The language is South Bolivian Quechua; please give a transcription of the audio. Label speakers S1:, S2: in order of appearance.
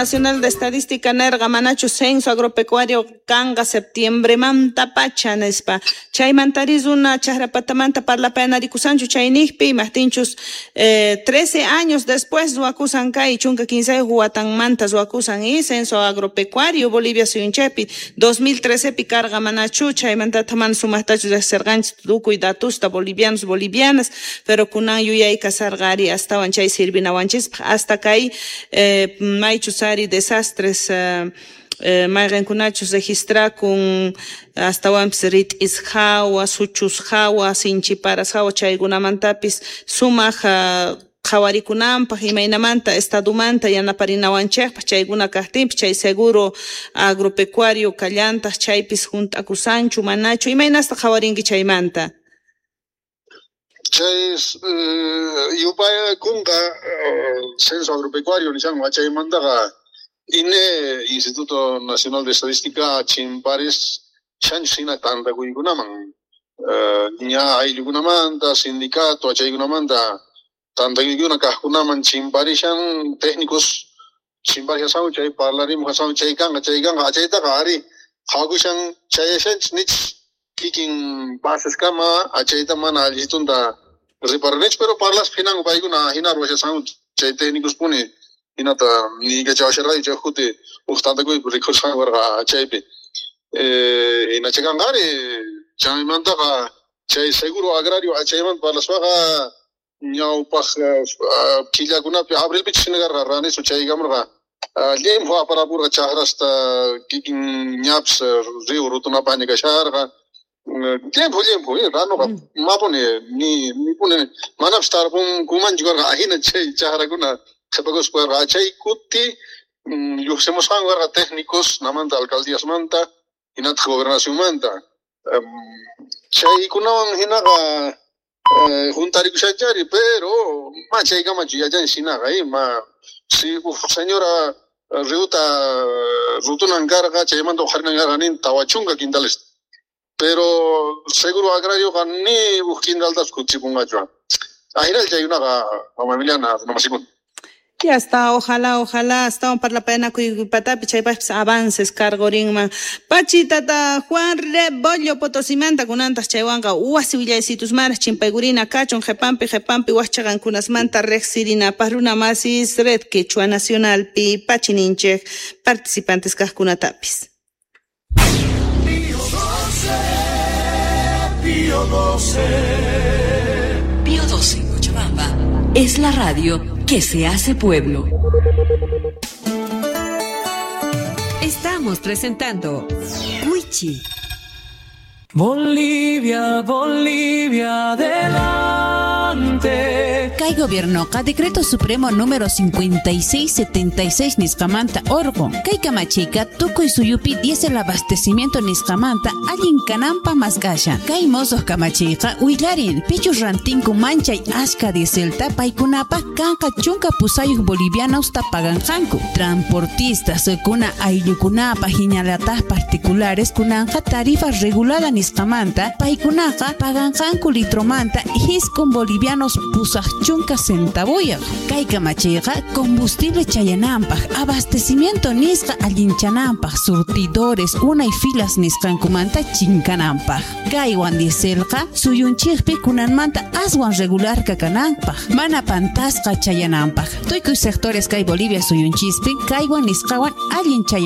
S1: Nacional de Estadística nerqa manachu censo agropecuario kanqa septiembremantapacha nispa. Chaymantari runa chajrapatamanta parlapayanarikusanchu chayniqpi imajtinchus 13 años después ruwakusan kay 13 watanmanta ruwakusan y censo agropecuario Bolivia suyunchaypi 2013pi karqa manachu chaymantata mana sumaqtachu riqsirqanchis tukuy datusta bolivianos bolivianas, pero kunan yuyay kasarqa ari astawan chay sirvinawanchispaq hasta kay maychus ari desastres mayqinkunachus registrakun astawanpis rit'is hawa, suchus hawa, sinchiparas hawa chaykunamantapis sumaq qhawarikunanpaq imaynamanta estadomanta yanaparinawanchikpaq chaykuna kaqtinpis chay seguro agropecuario kallantaq chaypis hunt'akusanchu manachu imaynasta qhawarinki chaymanta?
S2: Chay yupaykunqa censo agropecuario nishanqa chaymantaqa INE, Instituto Nacional de Estadística, chimparis shanchus tantakuykunaman ña ayllukunamanta, sindicato achaykunamanta tantakuykuna kaqkunaman chimparishan técnicos chimparishasan chay parlarimuhasan chay kanqa achaytaqa ari qhawakushan chayashanchis nichis kikin baseskama achayta mana allitunta riparanichu, pero parlaspa hinanku paykuna hina ruwashasanku chay técnicos puni hinata niykachawasharqayku chay juti uj tantakuypi rikhusqanku karqa chaypi hina chaykanqa ari chaymantaqa chay seguro agrario achaymanta parlaspaqa ñawpaq killakunapi abrilpichus hina karqa ranisu chaykamurqa llimphu aparapurqa chaqrasta kikin ñapis río rutunapaqña kasharqa llimphu llimphu ranuqa mapuni ni puni manapis tarpunkumanchu karqa ahina chay chaqrakuna qhipakuspa karqa chay kuti lluqsimusqanku karqa técnicos namanta alcaldíasmanta hinataq gobernacionmanta chaykunawan hinaqa juntarikushanchari, pero ma chaykamachu yachanchis hinaqa ma si uj señora riuta rutunan karqa chaymanta uqharinan karqa nin 40 quintales, pero seguro agrarioqa ni uj quintaltapas kutichipunqachu. Ajinalla chaykunaqa mama Emiliana runamasikuna.
S1: Y hasta ojalá, ojalá astawan parlapayanakuypatapi chaypaqpis avances karqurinman. Pachi tata Juan Rebollo Potosimanta kunantaq chaywanqa wasi willaysitusmaraq chimpaykurina kachun qhipanpi qhipanpi waqchaqankunasmanta riqsirinapaq runa masis Red Quechua Nacionalpi pachi ninchik participantes kaqkunatapis.
S3: Pío 12, Pío 12.
S4: Pío 12 en Cochabamba es la radio que se hace pueblo. Estamos presentando Wichi.
S3: Bolivia, Bolivia, adelante.
S5: Kay gobiernoqa Decreto Supremo número 5676 nisqamanta orqun. Kay kamachiyqa tukuy suyupi diésel abastecimiento nisqamanta allin kananpaq mask'ashan. Kay mosuq kamachiyqa willarin pichus rantinku manchay ashka dieselta paykunapaq kanqa 18 bolivianosta paganqanku. Transportistas kuna ayllukunapaq hinallataq particulares kunanqa tarifa regulada nisqamanta paykunaqa paganqanku litromanta 9 bolivianos 80 centavuyaq. Kay kamachiyqa combustible chayananpaq, abastecimiento nisqa allinchananpaq, surtidores unay filas nisqankumanta chinkananpaq. Kaywan dieselqa suyunchikpi kunanmanta aswan regular kananpaq, mana pantasqa chayananpaq. Tukuy sectores kay Bolivia suyunchispi kaywan nisqawan allin chayananpaq.